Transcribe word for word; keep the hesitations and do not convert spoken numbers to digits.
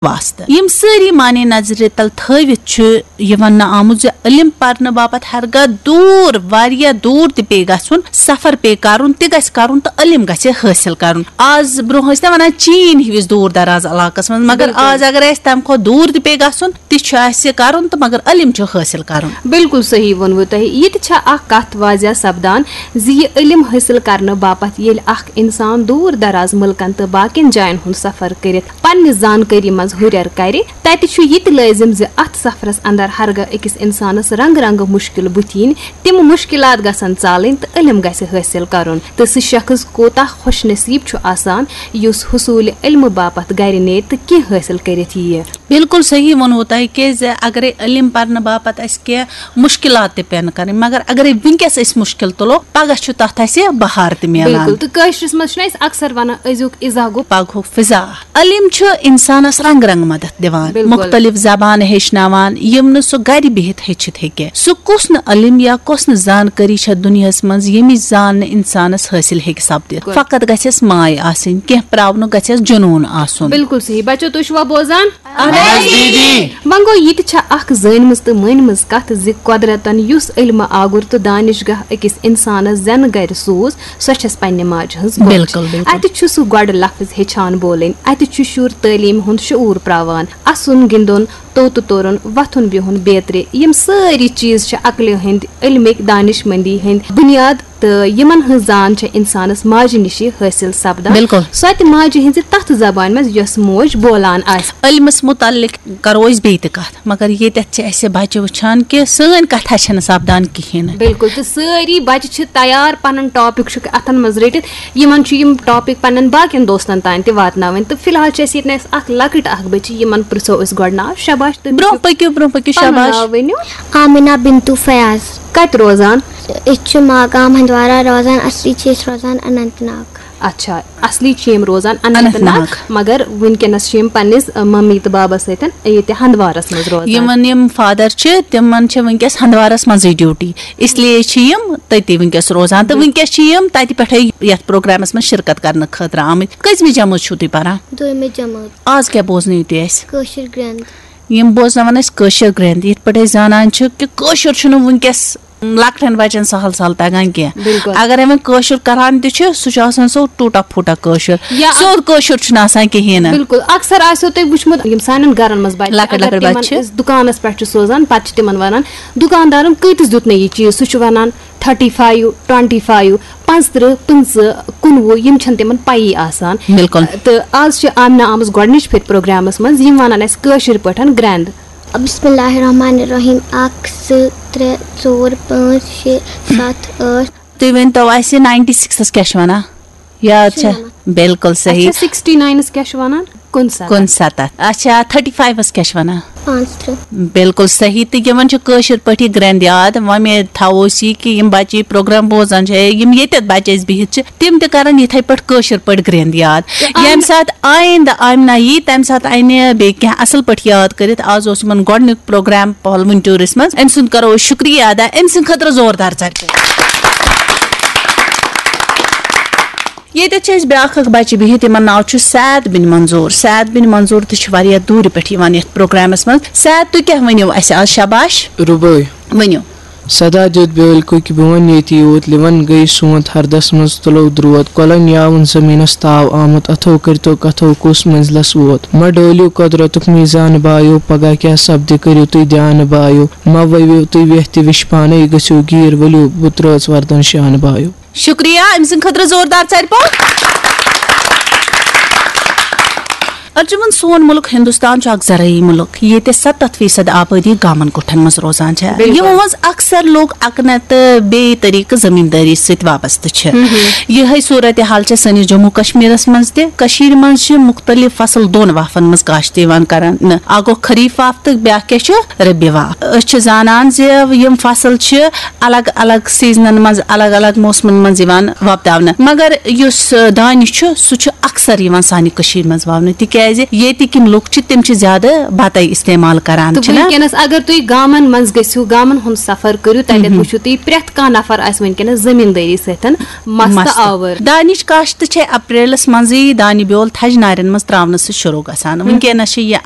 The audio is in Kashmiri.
واسطہٕ۔ یِم سٲری معنی نظرِ تل تھٲوِتھ چھُ یہِ وننہٕ آمُت زِ علم پرنہٕ باپتھ ہرگاہ دوٗر، واریاہ دوٗر تہِ پیٚیہِ گژھُن، سفر پیٚیہِ کرُن، تہِ گژھِ کرُن تہٕ علم گژھِ حٲصِل کرُن۔ آز برونٛہہ ٲسۍ نہ ونان چین ہِوِس دوٗر دراز علاقس منٛز، مگر بِلکُل۔ آز اگر اَسہِ تَمہِ کھۄتہٕ دوٗر تہِ پیٚیہِ گژھُن، تہِ چھُ اَسہِ کرُن تہٕ مگر علم چھُ حٲصِل کرُن۔ بِلکُل صحیح ووٚنوٕ تۄہہِ۔ یہِ تہِ چھےٚ اکھ کتھ واضح سپدان زِ یہِ علم حٲصِل کرنہٕ باپتھ ییٚلہِ اکھ انسان دوٗر دراز مُلکن تہٕ باقین جاین ہُنٛد سفر کٔرِتھ پننہِ زانکٲری منٛز ہُرٮ۪ر کرِ، تتہِ چھُ یہِ تہِ لٲزم زِ اتھ سفرس اندر ہرگاہ أکِس انسانس رنگہٕ رنگہٕ مُشکِل بُتھِ یِنۍ، تِم مُشکِلات گژھن ژالٕنۍ تہٕ علم گژھِ حٲصِل کرُن۔ تہٕ سُہ شخص کوتاہ خوش نصیب چھُ آسان یُس حصوٗلِ علمہٕ باپتھ گرِ نیرِ تہٕ کینٛہہ حٲصِل کٔرِتھ یِیہِ۔ بِلکُل صحیح ووٚنوٕ تۄہہِ، کیٛازِ اگرے علم پرنہٕ باپتھ اَسہِ کینٛہہ مُشکِلات تہِ پٮ۪ن کَرٕنۍ، مگر اگرے وٕنکیٚس أسۍ مُشکِل تُلو، پَگاہ چھُ تَتھ اَسہِ بہار تہِ میلان۔ بِلکُل، تہٕ کٲشرِس منٛز چھُنہٕ اَسہِ اکثر وَنان، أزیُک اِزاہ گوٚو پَگہُک فِضا۔ علم چھُ اِنسانَس رنٛگہٕ رنٛگہٕ مدد دِوان، بِلکُل۔ مُختٔلِف زبانہٕ ہیٚچھناوان، یِم نہٕ سُہ گرِ بِہِتھ ہیٚچھِتھ ہیٚکہِ۔ سُہ کُس نہٕ علم یا کۄس نہٕ زانکٲری چھےٚ دُنیاہَس منٛز، ییٚمِچ زان نہٕ اِنسانَس حٲصِل ہیٚکہِ سَپدِتھ؟ بِلکُل۔ فقط گژھٮ۪س ماے آسٕنۍ، کینٛہہ پراونُک گژھٮ۪س جنوٗن آسُن۔ بِلکُل صحیح۔ بچو، تُہۍ چھِوا بوزان؟ اہن حظ، دیدی۔ وۄنۍ گوٚو، یہِ تہِ چھےٚ اکھ زٲنمٕژ تہٕ مٲنمٕژ کتھ زِ قۄدرتن یُس علمہٕ آگُر تہٕ دانشگاہ أکِس انسانس زٮ۪نہٕ گرِ سوٗز، سۄ چھَس پننہِ ماجہِ ہٕنٛز بوچھ۔ بِلکُل، بِلکُل۔ اتہِ چھُ سُہ گۄڈٕ لفظ ہیٚچھان بولٕنۍ، اتہِ چھُ شُر تعلیٖم ہُنٛد شعوٗر پراوان، اسُن، گِنٛدُن، توٚت تُرُن، وۄتھُن بِہُن بیترِ، یِم سٲری چیٖز چھِ عقلہِ ہٕنٛدۍ، علمٕکۍ، دانشمندی ہٕنٛدۍ بُنیاد۔ تہٕ یِمن ہٕنٛز زان چھےٚ اِنسانس ماجہِ نِشی حٲصِل سپدان۔ بِلکُل۔ سۄ تہِ ماجہِ ہٕنٛزِ تتھ زبانہِ منٛز یۄس موج بولان آسہِ۔ علمس مُتعلق کرو أسۍ بیٚیہِ تہِ کتھ، مگر ییٚتٮ۪تھ چھِ اَسہِ بچہِ وٕچھان کہِ سٲنۍ کتھا چھَنہٕ سپدان کِہیٖنۍ نہٕ۔ بِلکُل، تہٕ سٲری بچہِ چھِ تیار پنُن ٹاپک چھُکھ اتھن منٛز رٔٹِتھ، یِمن چھُ یِم ٹاپک پننٮ۪ن باقین دوستن تام تہِ واتناوٕنۍ۔ تہٕ فی الحال چھِ اَسہِ ییٚتہِ اَسہِ اکھ لۄکٕٹ اکھ بچی، یِمن پرژھو أسۍ گۄڈٕ ناو۔ شاباش، تُہۍ برونٛہہ پٔکِو، برونٛہہ پٔکِو، پنُن شاباش۔ ناو ؤنِو۔ آمِنہ بِنتو فیاض۔ کتہِ روزان؟ أسۍ چھِ ماگام ہندوارہ روزان، اصلی چھِ أسۍ روزان اننت ناگ۔ اچھا، اصلی چھِ یِم روزان اننت اننت ناگ، ناگ۔ مگر وٕنکیٚنس چھِ یِم پننِس، ٲ، ممی تہٕ بابس سۭتۍ ییٚتہِ ہندوارس منٛز روزان۔ یِمن یِم فادر چھِ، تِمن چھِ وٕنکیٚس ہندوارس منٛزٕے ڈیوٹی، اس لیے چھِ یِم تٔتی وٕنکیٚس روزان۔ تہٕ بِل- وٕنکیٚس چھِ یِم تتہِ پٮ۪ٹھے یتھ پروگرامس منٛز شرکت کرنہٕ خٲطرٕ آمٕتۍ۔ کٔژمہِ جمٲژ چھِو تُہۍ پران؟ دوٚیمہِ جمٲژ۔ آز کیٛاہ بوزنٲیِو تُہۍ اَسہِ؟ کٲشِر گرٛنٛد۔ یِم بوزناوان أسۍ کٲشِر گرٛنٛد، یِتھ پٲٹھۍ أسۍ زانان چھِ کہِ کٲشُر چھُنہٕ وٕنکیٚس لۄکٹٮ۪ن بچن سہل سہل تگان کینٛہہ۔ بِلکُل۔ اگرے وۄنۍ کٲشُر کران تہِ چھُ، سُہ چھُ آسان سُہ ٹوٗٹا پھوٗٹا کٲشُر۔ یا سیوٚد کٲشُر چھُنہٕ آسان کِہیٖنۍ نہٕ۔ بِلکُل۔ اکثر آسیو تۄہہِ وٕچھمُت، یِم سانٮ۪ن گرن منٛز بچہِ، لۄکٕٹۍ اگر لۄکٕٹۍ تِمن بچہِ چھِ۔ أسۍ دُکانس پٮ۪ٹھ چھِ سوزان، پتہٕ چھِ تِمن ونان، "دُکاندارن کۭتِس دیُت مےٚ یہِ چیٖز؟" سُہ چھُ ونان، "تھٔٹی فایِو، ٹُوَنٹی فایِو، پانٛژترٕٛہ، پٕنٛژٕہ، کُنوُہ"، یِم چھِنہٕ تِمن پَیی آسان۔ بِلکُل۔ تہٕ آز چھِ آمنہ آمٕژ گۄڈٕنِچ پھِرِ پروگرامس منٛز، یِم وَنان اَسہِ کٲشِر پٲٹھۍ گرٛنٛد۔ بسم اللہ الرحمن الرحیم۔ اکھ، زٕ، ترٛےٚ، ژور، پانٛژھ، شےٚ، ستھ، ٲٹھ۔ تُہۍ ؤنۍ تو اَسہِ، ناینٹی سِکسَس کیٛاہ چھِ وَنان؟ یاد چھا؟ شُنَمَتھ۔ بِلکُل صحیح۔ اچھا، سِکِسٹی ناینَس کیٛاہ چھِ وَنان؟ کُنسَتَتھ۔ کُنسَتَتھ۔ اچھا، تھٔٹی فایِوَس کیٛاہ چھِ وَنان؟ پانٛژترٕٛہ۔ بِلکُل صحیح۔ تہٕ یِمَن چھِ کٲشِر پٲٹھۍ یہِ گرٛنٛد یاد۔ وۄمید تھاوو أسۍ یہِ کہِ یِم بَچہٕ یہِ پروگرام بوزان چھِ، یِم ییٚتٮ۪تھ بَچہٕ اَسہِ بِہِتھ چھِ، تِم تہِ کَرَن یِتھَے پٲٹھۍ کٲشِر پٲٹھۍ گرٛنٛد یاد۔ تہٕ ییٚمہِ آمنہ ساتہٕ آیِندٕ آمنہ یی، تَمہِ ساتہٕ اَنہِ بیٚیہِ کینٛہہ اَصٕل پٲٹھۍ یاد کٔرِتھ۔ آز اوس یِمَن گۄڈٕنیُک پروگرام پہلوٕنۍ ٹوٗرَس منٛز۔ أمۍ سُنٛد کَرو أسۍ شُکریہ ادا، أمۍ سٕنٛدِ خٲطرٕ زوردار ژَٹہِ۔ ییٚتٮ۪تھ چھِ اَسہِ بیٛاکھ اَکھ بَچہِ بِہِتھ، یِمَن ناو چھُ سعد بِن منظوٗر۔ سعد بِن منظوٗر تہِ چھِ واریاہ دوٗرِ پٮ۪ٹھ یِوان یَتھ پروگرامَس منٛز۔ سعد، تُہۍ کیٛاہ ؤنِو اَسہِ آز؟ شاباش۔ رُبٲے۔ ؤنِو۔ سدا دیُت بیٲلۍ کُکۍ بون ییٚتی یوت، لِوَن گٔے سونٛتھ ہردَس منٛز تُلو درٛوت، کۄلَن یاوُن زٔمیٖنَس تاو آمُت، اَتھو کٔرۍتو کَتھو کُس مٔنزلَس ووت۔ مہ ڈٲلِو قۄدرَتُک میٖزان بایو، پگاہ کیٛاہ سپدِ کٔرِو تُہۍ دیانہٕ بایو، مہ ؤوِو تُہۍ ویٚتھ تہِ وِش پانَے، گٔژھِو گیٖر ؤلِو بُترٲژ وَردَن شانہٕ بایو۔ شُکریہ، أمۍ سٕنٛدِ خٲطرٕ زوردار ژَرِ پوٚپ۔ ارجُمن، سون مُلک ہندوستان چھُ اکھ زرعی مُلک، ییٚتہِ ستتھ فیصد آبٲدی گامن کُٹھن منٛز روزان چھےٚ۔ بِلکُل۔ یِمو منٛز اکثر لوٗکھ اکنہ تہٕ بیٚیہِ طریقہٕ زٔمیٖندٲری سۭتۍ وابستہٕ چھِ۔ مہم۔ یِہے صورتحال چھےٚ سٲنِس جموں کشمیرس منٛز تہِ۔ کٔشیٖرِ منٛز چھِ مُختٔلِف فصل دۄن وافن منٛز کاشت یِوان کرنہٕ۔ اکھ گوٚو خریف واف تہٕ بیٛاکھ کیٛاہ چھُ؟ ربیع واف۔ أسۍ چھِ زانان زِ یِم فصل چھِ الگ الگ سیزنن منٛز، الگ الگ موسمن منٛز یِوان وۄپداونہٕ، مگر یُس، آ، دانہِ چھُ، سُہ چھُ اکثر یِوان سانہِ کٔشیٖرِ منٛز وَونہٕ، تِکیٛازِ ییٚتِکۍ یِم لُکھ چھِ، تِم چھِ زیادٕ بَتَے استعمال کران، تہٕ چھِنہ؟ وٕنکیٚنَس اگر تُہۍ گامَن منٛز گٔژھِو، گامَن ہُنٛد سفر کٔرِو، تَتٮ۪تھ مہم۔ وٕچھِو تُہۍ، پرٛٮ۪تھ کانٛہہ نفر آسہِ وٕنکیٚنَس زٔمیٖندٲری سۭتۍ مَستہٕ مَستہٕ۔ آوُر۔ دانِچ کاشت چھےٚ اپریلَس منٛزٕے دانہِ بیول تھَجہِ نارٮ۪ن منٛز ترٛاونہٕ سۭتۍ شروٗع گژھان۔ مہم۔ وٕنکیٚنَس چھِ یہِ